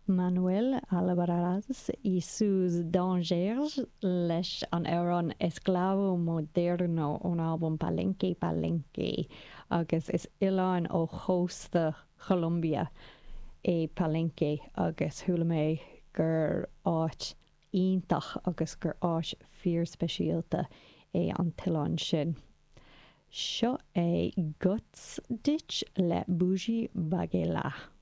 Manuel Almaraz y sus Dangers leis an amhrán Esclavo Moderno ón albam Palenque Palenque agus is oileán ó chósta Cholombia é Palenque agus chuala mé gur áit iontach agus gur áit fíorspeisialta é an t-oileán sin. Seo é Guts Ditch le Bougie Bagela.